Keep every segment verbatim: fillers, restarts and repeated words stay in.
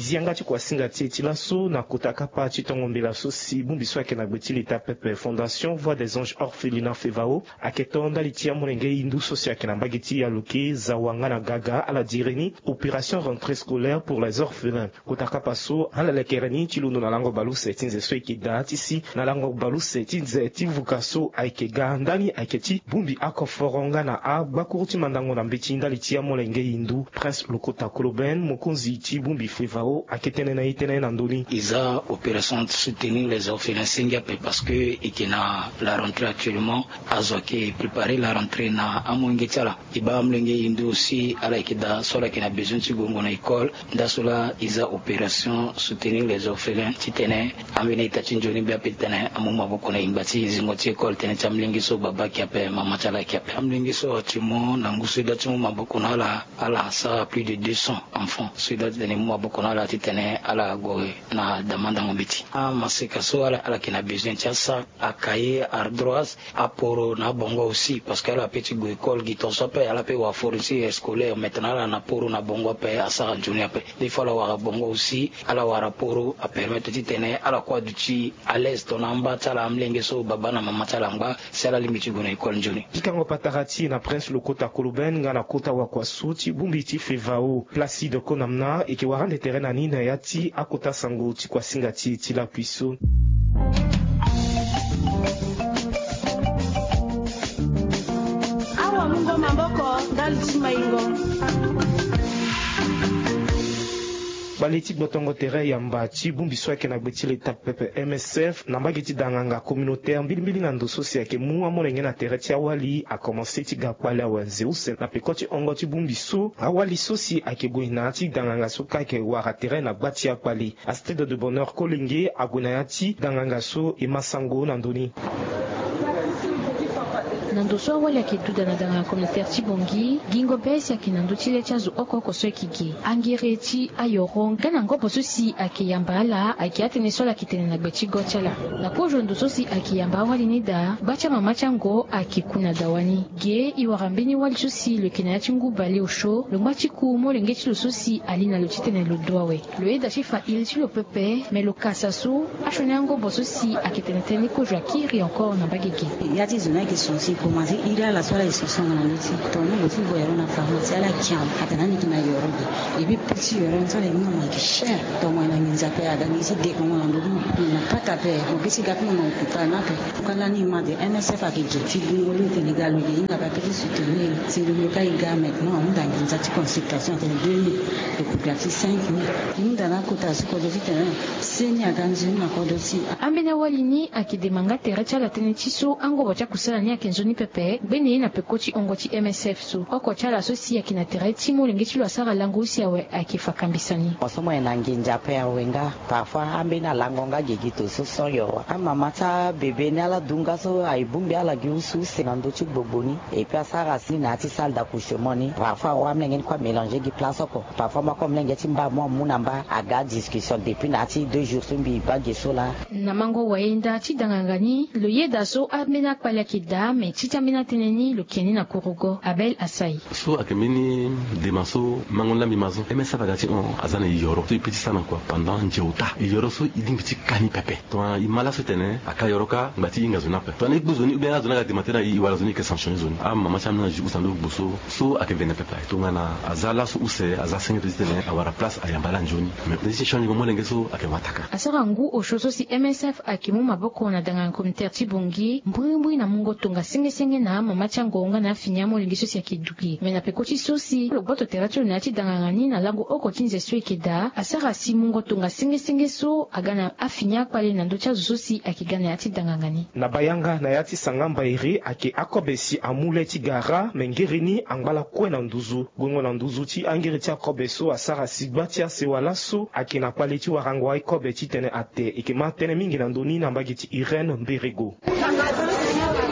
Zi yanga ti kuasinga ti e ti laso na kota kapa ti tongo mbela so si bongbi so ayeke na gbe ti leta pepe, Fondation Voix des Anges Orphelinat Fevao, ayeke to ndali ti amolenge hindu so si ayeke na mbage ti Yaloke, Zawa nga na Gaga, ala dire ni opération rentrée scolaire pour les orphelins. Kota kapa so ala lekere ni ti londo na lango baleuse ti nze so e yeke daa ti si na lango baleuse ti nze ti vuka so ayeke ga ndani ayeke ti bongbi akoforo nga na agbakuru ti mandango na mbeti ndali ti amolenge hindu. Prince Lokota Koloben, mokonzi ti bongbi Fevao, ayeke tene na e tënë na ndö ni. E za opération soutenir les orphelins senge ape parce que e yeke na la rentrée actuellement. Azo ayeke préparer la rentrée na amolenge ti ala. E baa amolenge hindu aussi, ala yeke daa so ala yeke na besoin ti gongo na école. Nda so laa e za opération soutenir les orphelins titene ambeni ita ti nzoni mbi ape titene amu maboko na yingba ti zingo ti école tënë ti amolenge so baba ayeke ape, mama ti ala ayeke ape. Amolenge so ati mo na ngu so e da ti mu maboko na ala, ala sara plus de deux cents enfants so e da titene e mu maboko na ala titene ala gue na damandango mbeti. Amaseka so ala, ala yeke na besoin ti asara, acahier, ardoise, aporo na abongo aussi parce que ala pe ti gue école gi tongaso ape, ala pe wara fourniture scolaire. Maintenant ala na poro na bongo ape, asara nzoni ape. Des fois ala wara bongo aussi, ala wara poro, apermettre titene ala kue aduti à l'aise tongana amba ti ala, amolenge so baba na mama ti ala angba, si ala lingbi ti gue na école nzoni. Pikango patara ti e na Prince Lokota Koloben nga na kota wakua so ti bongbi ti Fevao, Placide Konamna, e yeke wara ande tere na ni na ya ti akota sango ti kuasinga ti e ti lakui so. Awamungo maboko ndali ti maingo. Kpale ti gbotongo tere yamba ti bongbi so ayeke na gbe ti leta pepe, M S F, na mbage ti danganga communautaire mbilimbili na ndo so si ayeke mu amolenge na tere ti awali akomanse ti ga kpale awe nze use na peko ti hongo ti bongbi so. Awali so si ayeke gue na ya ti danganga so kâ ayeke wara tere na gba ti akpale. Astrid de Bonheur Kolenge ague na ya ti danganga so e ma sango na ndö ni. Na ndo so awali ayeke duda na danganga communautaire ti Bangui, gingo be si ayeke na ndö ti le ti azo oko oko so ayeke ge, angere ti ayoro nga na ngobo so si ayeke yamba ala ayeke atënë so ala yeke tene na gbe ti go ti ala. Na kozo ndo so si ayeke yamba awali ni daa, gba ti amama ti ango ayeke ku na dawa ni. Ge e wara mbeni wali so si lo yeke na ya ti ngu bale osio, lo ngba ti ku molenge ti lo so si ali na lo titene lo du awe. Lo yeda ti fa iri ti lo pepe, me lo kasa so asioni angobo so si ayeke tene tënë ni kozo akiri encore na mbage ge. Ya ti zo ni ayeke son si e komanse iri ala so ala yeke son na ndö ti tongana ni lo ti gue yoro na pharmacie ala kian atene ani yeke na yoro ge. Ebi prix ti yoro ni so ala yeke mu na mo ayeke cher. Tongana na nginza ape aga ngi ti dekongo na ndö ti mo na pata ape mo be ti ga ti mo na hôpital ni ape. Tongana ni ma de M S F ayeke ge ti gungo lo tene ga lo yeke hinga ape ape ti soutenir si lo lo ka e ga maintenant ahunda nginza ti consultation atene deux mille. Lo kota ti cinq mille. Hunda na akota so kodro titene seni aga nzoni na kodro ti. Ambeni awali ni ayeke dema nga tere ti ala tënë ti so angobo ti akusala ni ayeke nzoni pepe gbene ye na peko ti hongo ti M S F so. Oko ti ala so si ayeke na tere ti molenge ti lo asara lango use awe ayeke fa kambisa ni. Mo so mo yeke na nginza ape awe nga. Parfois ambeni alango nga gigi to so sans yoro. Amama ti abebe ni ala du nga so aye bongbi ala gi use use na ndö ti gbogbo ni. Et puis asara si na ya ti salle d'accouchement ni. Parfois awa amolenge ni kue amélanger gi place oko. Parfois mo ako molenge ti mba mo amu na mba aga discussion depuis na ya ti deux jours so mbi baa ge so laa. Na mango wayenda ti danganga ni lo yeda so ambeni akpale ayeke daa me ti ti ambeni atënë ni lo ke ni na kurugo. Abel Asai. So ayeke mbeni dema so mango ni laa mbi ma so M S F aga ti hon aza na e yoro so e pe ti sara na kua pendant nze ota. E yoro so e lingbi ti ka ni pepe. Tongana e ma laso e tene aka yoro kâ ngba ti e hinga zo ni ape. Tongana e gbu zo ni ou bien azo ni aga dema tere na e, e wara zo ni e yeke sanctionner zo ni. Amama ti ambeni azo ti usa ndo gbo so so ayeke vene pepe. Tongana aza laso use aza senge ti tene awara place ayamba ala nzoni. Mais nde ti change mo molenge so ayeke wataka. Asara ngu osio so si M S F ayeke mu maboko na danganga communautaire ti Bangui mbrimbri na mungo tongasengesenge na amama ti ango nga na afini amolenge so si ayeke du ge. Me na peko ti so si lo gboto tere ti lo na ya ti danganga ni na lango oko ti nze so e yeke daa asara si mungo tongasengesenge so aga na afini akpale na ndö ti azo so si ayeke ga na ya ti danganga ni. Na bayanga na ya ti sanga mbairi ayeke akobe si amu le ti gara me ngiri ni angba lakue na nduzu. Gongo na nduzu ti angiri ti akobe so asara si gba ti asewa laso ayeke na kpale ti warango aye kobe titene ate. E yeke ma tënë mingi na ndö ni na mbage ti Irène Mberego.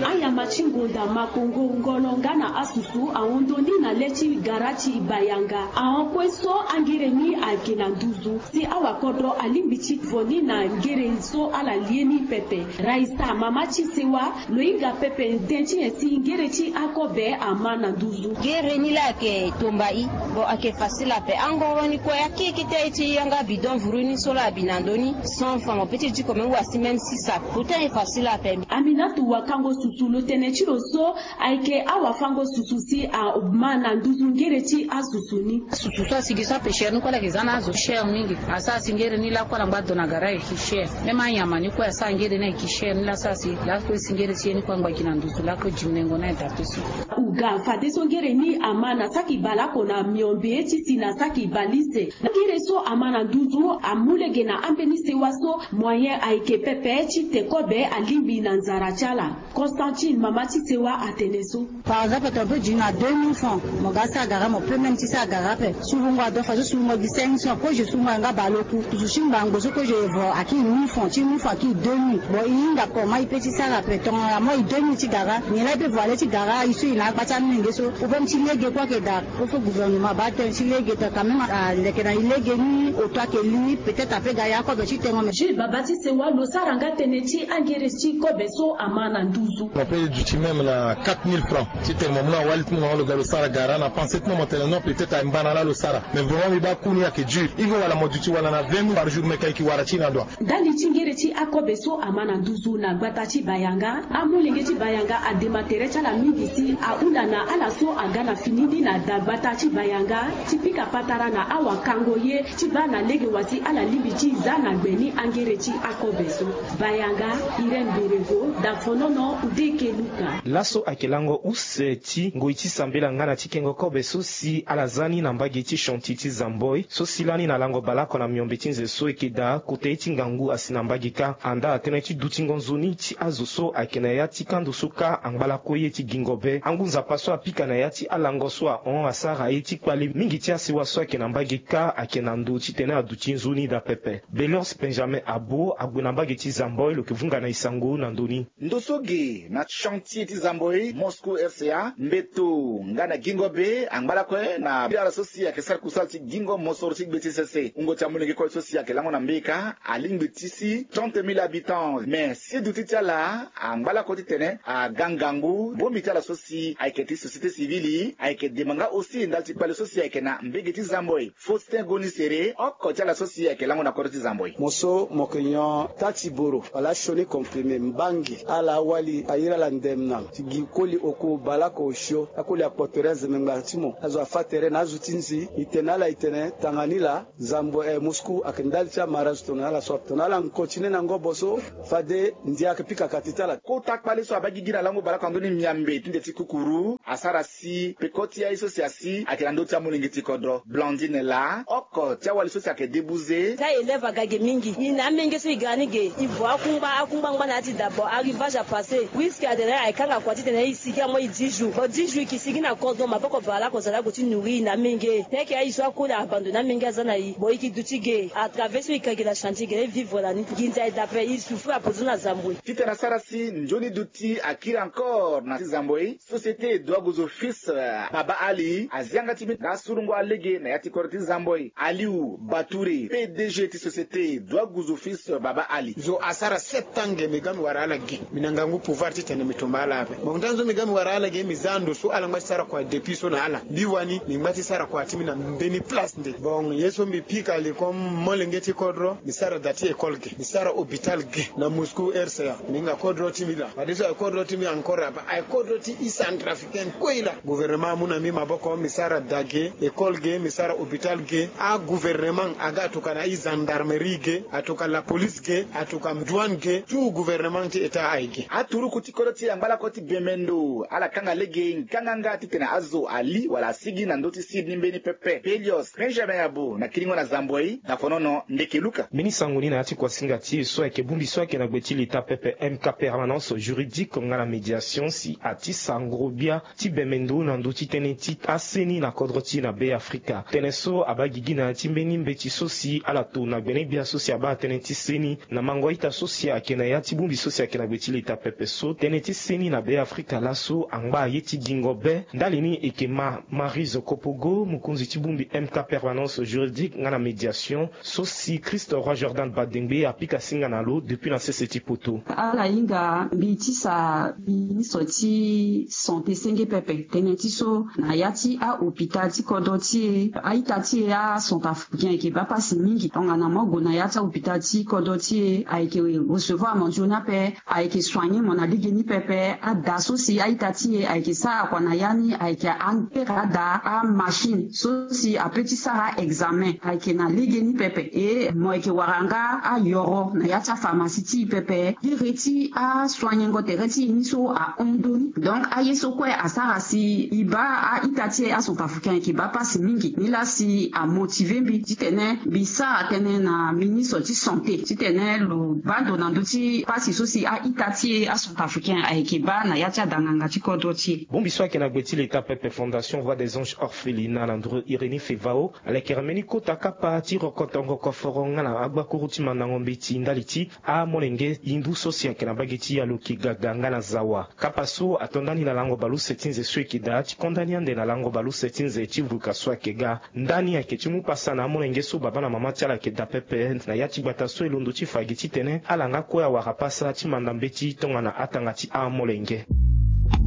Ayamba ti ngonda makongo ngolo nga na asusu ahon ndoni na le ti Gara ti bayanga ahon kue so angere ni ayeke na nduzu si awakodro alingbi ti vo ni na ngere so ala lie ni pepe. Raisa mama ti sewa lo hinga pepe nden ti nyen si ngere ti akobe ama na nduzu. Ngere ni laa ayeke tomba i. Bon, ayeke facile ape angoro ni kue akeke ti aye ti yanga bidon vuru ni so laa abi na ndö ni cent francs mo pe ti diko même wasi même six sacs. Pourtant e facile ape. Aminatu wakango susu lo tene ti lo so ayeke awafango susu si ama na nduzu ngere ti asusu ni. Susu so asigi so ape chere ni kue ala yeke za na azo chere mingi. Asara si ngere ni lakue ala ngba do na gara ayeke chere. Même anyama ni kue asara ngere ni ayeke chere ni laa asara si lakue si ngere ti ye ni kue angba gi na nduzu lakue diminengo ni ayeke daa peso. Uga fadeso ngere ni ama na saki baleoko na miombe ti si na saki balise. Ngere so ama na nduzu amu lege na ambeni sewa so moyen ayeke pepe ti te kobe alingbi na nzara ti ala. Constantine mama ti sewa atene so. Par exemple tongana pe diri na deux mille francs mo ga sara gara mo pe même ti sara gara ape. Sulungo ado fadeso sulungo gi cinq cents ko je sulungo ayanga baleoku tusu ti ngbangbo so ko je vo akiri mille francs ti mille francs akiri deux mille. Bon e hinga comment e pe ti sara ape tongana moi deux mille ti gara nyen laa e pe vo ale ti gara e so e na agba ti amenge so. Problème ti lege kue ayeke daa. Kofo gouvernement abaa tënë ti lege tongana quand même aleke na e lege ni oto ayeke li peut-être ape ga ya akobe ti tengo me. Jules baba ti sewa lo sara nga tënë ti angere ti kobe so ama na nduzu. Mo pe duti même na quatre mille francs ti tene mo mu na wali ti mo na lo ga lo sara gara na pensé ti mo mo tene non peut-être aye mbana laa lo sara. Mais vraiment mbi baa ku ni ayeke dur. Ivo wala mo duti wala na vingt mille par jour meke ayeke wara ti na ndo. Ndali ti ngere ti akobe so ama na nduzu na gbata ti bayanga. Amolenge ti bayanga adema tere ti ala mingi si ahunda na ala so aga na fini ni na dagbata ti bayanga ti pika patara na awakango ye ti baa na lege wa si ala lingbi ti za na gbe ni angere ti akobe so. Bayanga, Irène Berego, dafonono, Ndeke Luka. Laso ayeke lango use ti ngoi ti sambela nga na ti kengo kobe so si ala za ni na mbage ti chantier ti Zamboi so si lani na lango baleoko na miombe ti nze so eke daa kota ye ti ngangu asi na mbage kâ. Andaa tënë ti dutingo nzoni ti azo so ayeke na ya ti kando so kâ angba lakue ye ti gingo be. Angu nzapa so apika na ya ti alango so ahon asara ye ti kpale mingi ti asewa so ayeke na mbage kâ ayeke na ndo titene aduti nzoni daa pepe. Beliance Benjamin Abo ague na mbage ti Zamboi lo yeke vunga na e sango na ndo ni. Ndo so ge na chantier ti Zamboi, Moscou, R C A, mbeto nga na gingo be angba lakue na ala so si ayeke sara kusala ti gingo mosoro ti gbe ti sese. Wungo ti amolenge kue so si ayeke lango na mbeka alingbi ti si trente mille habitants. Mais si duti ti ala angba lakue titene aga ngangu bongbi ti ala so si ayeke ti société civile ayeke dema nga aussi ndali ti kpale so si ayeke na mbage ti Zamboi. Faustin Goni Sere, oko ti ala so si ayeke lango na kodro ti Zamboi. Mo so mo yeke nyon taa ti boro wala asioni comprimé mbangi ala awali ayiri ala ndemna ti gi koli oko baleoko osio akoli akpoto ere azeme ngbanga ti mo azo afa tere na azo ti nzi. E tene na ala e tene tanga ni laa Zamboi, eh, Moscou ayeke ndali ti amara azo tongana ala so ape tongana ala continue na ngobo so fade ndia ayeke pika kati ti ala. Kota kpale so abaa gigi na lango baleoko na ndö ni miambe ti nde ti kukuru asara si peko ti aye so si asi ayeke na ndö ti amolenge ti kodro. Blandine laa oko ti awali so si ayeke debuze. Ti aélève aga ge mingi. E na amenge so e ga ni ge e vo akungba akungba angba na ya ti dabo arrivage apassé. Puisque atene ayeke kanga kua titene e sigi amoi dix jours. Bon dix jours e ke sigi na kodro maboko baleoko zali ague ti nourrir e na amenge. Teke aye so akoli abandonné amenge aza na e. Bon e ke duti ge à travers so e ka ge na chantier ge na e vivre na ni. Nginza e daa ape e souffrir ape zo na Zamboi. Titene asara si nzoni duti akiri encore na ti Zamboi. Société Doigos Office, euh, Baba Ali azi yanga ti mbi nga asurungo alege na ya ti kodro ti Zamboi. Aliou Batouré, P D G ti société Doigos Office, euh, Baba Ali. Zo asara sept ans ge mbi ga mbi wara ala ge. Mbi na ngangu pouvoir titene mbi tomba ala ape. Mo nda nzo mbi ga mbi wara ala ge mbi za ndo so ala ngba ti sara kua depuis so na ala. Mbi wani mbi ngba ti sara kua ti mbi na mbeni place nde. Bon ye so mbi pika li comme molenge ti kodro mbi sara da ti école ge. Mbi sara hôpital ge na Moscou R C A. Mbi hinga kodro ti mbi laa. Fadeso aye kodro ti mbi encore ape. Aye kodro ti e centrafricaine kue laa. Gouvernement amu na mbi maboko mbi sara da ge, école ge, mbi sara hôpital ge. Agouvernement aga atuka na e gendarmerie ge, atuka la police ge, atuka douane ge, tout gouvernement ti état aye ge. Aturuku ti kodro ti e angba lakue ti bembe ndo ala kanga lege nganganga titene azo ali wala asigi na ndö ti sud ni mbeni pepe. Belios Benjamin Abo na kiringo na Zamboi, dafonono, Ndeke Luka. Mbeni sango ni na ya ti kuasinga ti e so ayeke bongbi so ayeke na gbe ti leta pepe M K permanence juridique nga na médiation si ati sango gbia ti bembe ndo na ndö ti tënë ti aseni na kodro ti e na Be Afrika. Tënë so abaa gigi na ya ti mbeni mbeti so si ala to na gbene-gbia so si abaa tënë ti seni na mango ita so si ayeke na ya ti bongbi so si ayeke na gbe ti leta pepe so tënë ti seni na Be Afrika laso angba ye ti gingo be ndali ni eke ma. Marie Zokopogo, mokonzi ti bongbi M K, permanence juridique nga na médiation, so si Christ Roi Jordan Badengbe apika singa na lo depuis na sese ti poto. Ala hinga mbi tisa ministre ti santé senge pepe tënë ti so na ya ti ahôpital ti kodro ti e, a-ita ti e acentrafricain ayeke baa pasi mingi. Tongana mo gue na ya ti ahôpital ti kodro ti e, ayeke recevoir mo nzoni ape, ayeke soigner mo na lege ni pepe. Ada so si a-ita ti e ayeke sara kua na ya ni ayeke akpere ada amachine so si ape ti sara examen ayeke na lege ni pepe. E mo yeke wara nga ayoro na ya ti apharmacie ti e pepe. Iri ti asoignengo tere ti e ni so ahon ndoni. Donc aye so kue asara si e baa a-ita ti e acentrafricain ayeke baa pasi mingi. Nilaa si amotive mbi titene mbi sara tënë na ministre ti santé titene lo baa ndo na ndö ti pasi so si a-ita ti e acentrafricain ayeke baa na ya ti adanganga ti kodro ti e. Bongbi so ayeke na gbe ti leta pepe, Fondation Voix des Anges Orphelinat, na nduru Irénée Fevao, alekere mbeni kota kapa ti rokotongo koforo nga na agbakuru ti mandango mbeti ndali ti amolenge hindu so si ayeke na mbage ti Aloki, Gaga nga na Zawa. Kapa so ato ndani na lango baleuse ti nze so e yeke daa ti konda ni ande na lango baleuse ti nze ti vuka so ayeke ga. Ndani ayeke ti mu pasa na amolenge so babâ na mama ti ala ayeke daa pepe na ya ti gbata so e londo ti fa gi titene ala nga kue awara pasa ti manda mbeti tongana atanga ti amolenge.